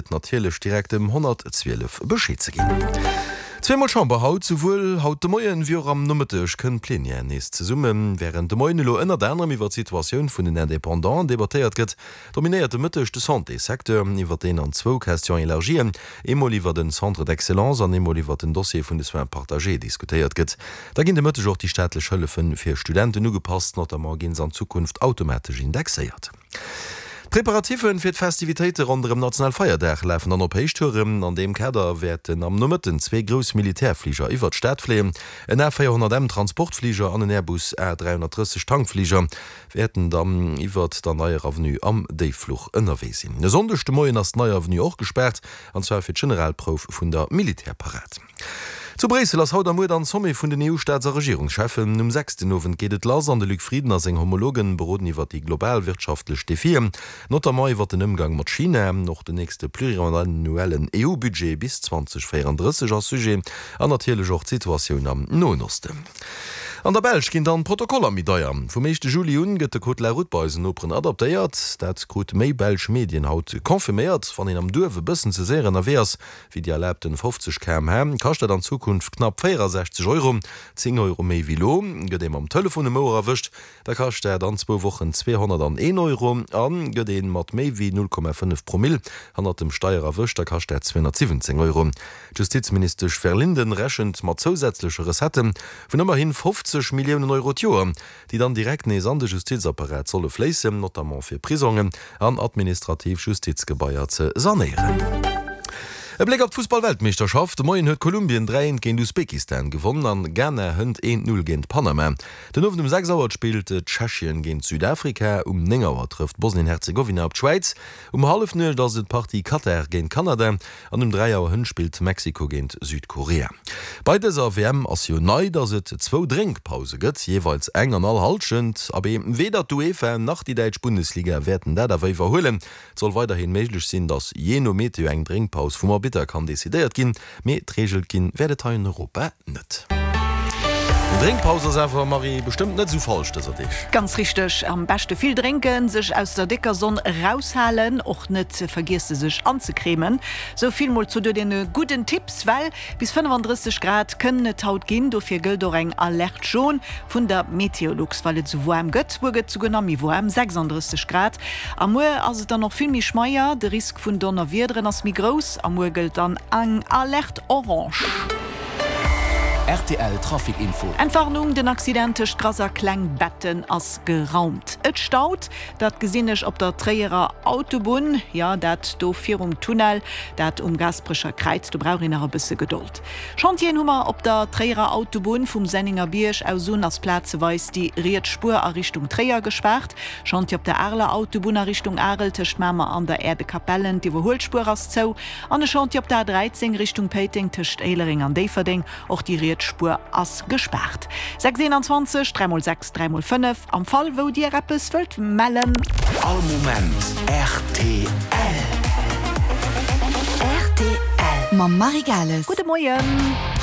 et natierlech direkt dem 112 Bescheed ze ginn. Zweemol Chamber haut, Souwuel haut de Moien wéi och am Nomëtteg kënnt d'Plenière nees zesummen. Wärend de Moien elo ënnert anerem iwwer d'Situatioun vun den Independanten debattéiert gëtt, dominéiert de Mëtteg de Santéssecteur, iwwer deen an zwou Questions élargien, eemol iwwer den Centre d'excellence an eemol iwwer den Dossier vun de Soins partagés diskutéiert gëtt. Da ginn de Mëtteg och déi staatlech Hëllefe fir Studenten ugepasst, notamment ginn se an Zukunft automatesch indexéiert. D'Preparatiffe fir d'Festivitéite ronderëm Nationalfeierdag lafen dann op Héichtouren. An deem Kader wäerten am Nomëtten zwee grouss Militärfliger iwwert d'Stad fléien. En A 400 M Transportfliger an en Airbus A 330 Tankfliger wäerten dann iwwert der Neier Avenue am Déiffluch ënnerwee sinn. E Sonndeg de Moien ass d'Neier Avenue och gespaart, an zwar fir d'Generalprouf vun der Militärparad. Zu Bréissel ass haut a muer dann Sommet vun den EU-Staats a Regierungscheffen. Um 6 den Owend geet et lass an de Luc Frieden a seng Homologen beroden iwwer déi global wirtschaftlech Defien, notamment iwwer den Ëmgang mat China. Och den nächste pluriannuellen EU-Budget bis 2034 ass Sujet an natierlech och d'Situatioun am Noen Osten. An der Belsch ginn dann d'Protokoller méi deier. Vum éischte Juli un gëtt de Code de la route bei eisen Noperen adaptéiert. Dat krut méi belsch Medien haut confirméiert. Wann een am Duerf e bëssen ze séier ënnerwee ass, wéi déi erlaabten 50 km/h, kascht dat an Zukunft knapp 64 Euro, 10 Euro méi wéi lo. Gëtt ee mam Telefon um Ouer erwëscht, da kascht dat an zwou Wochen 201 Euro a gëtt ee mat méi wéi 0,5 Promill hannert dem Steier erwëscht, da kascht dat 217 Euro. D'Justizministesch Verlinden rechent mat zousätzleche Recettë vun ëmmerhi 50 Milliounen Euro d'Joer. déi dann direkt nees an de Justizapparat solle fléissen, notamment fir Prisongen an administrativ Justizgebaier ze sanéieren. E Bléck op d'Fussball-Weltmeeschterschaft, De Moien huet Kolumbien 3, 1 géint Usbekistan gewonn an Ghana hënt 1, 0 géint Panama. Den Owend um 6 Auer spillt Tschechien géint Südafrika, um 9 Auer trëfft Bosnien-Herzegowina op d'Schwäiz, um Hallefnuecht ass et d'Partie Katar géint Kanada An um 3 Auer hënt spillt Mexiko géint Südkorea. Bei dëser WM ass jo nei, dass et zwou Drénkpause gëtt, jeeweils eng an all Hallschent. Abee, weder d'UEFA nach déi däitsch Bundesliga wäerten dat awer iwwerhuelen. Et soll weiderhi méiglech sinn, dass jee no Meteo eng Drénkpaus vum Arbitter kann decidéiert ginn, mee d'Reegel ginn wäert et hei an Europa net. Eng Drénkpaus ass awer, Marie, bestëmmt net esou falsch dëser Deeg. Ganz richteg, am beschte vill drénken, sech aus der décker Sonn eraushalen, och net vergiesse sech anzecremen. Sou vill mol zu deene gudden Tipps, well bis 35 Grad kënnen et haut ginn. Dofir gëllt och eng Alerte jaune vun der Meteolux, well et esou waarm gëtt. Muer gëtt souguer nach méi waarm, 36 Grad. A muer ass et dann och vill méi schmeier, de Risk vun Donnerwiederen ass méi grouss a muer gëllt dann eng Alerte orange. Rtl Trafic Info. Entwarnung, Den Accident tëscht Grass a Klengbetten ass geraumt. Et staut, dat gesinn ech op der Tréierer Autobunn, jo dat do virum Tunnel, dat um Gaasperecher Kräiz, do brauch een nach e bësse Gedold. Chantieren hu mer op der Tréierer Autobunn, vum Senningerbierg aus un ass plazeweis déi riets Spuer a Richtung Tréier gespaart. Chantier op der Areler Autobunn a Richtung Arel tëscht Mamer an der Äerdekapellen, d'Iwwerhuelspuer ass zou. An e Chantier op der A 13 Richtung Péiteng tëscht Éilereng an Déifferdeng, och déi riets Spuer ass gespaart. 6 21 3 mol 6 3 mol 5 am Fall wou Dir eppes wëllt mellen. All Moment rtl. Rtl mam Marie Gales. Gudde Moien.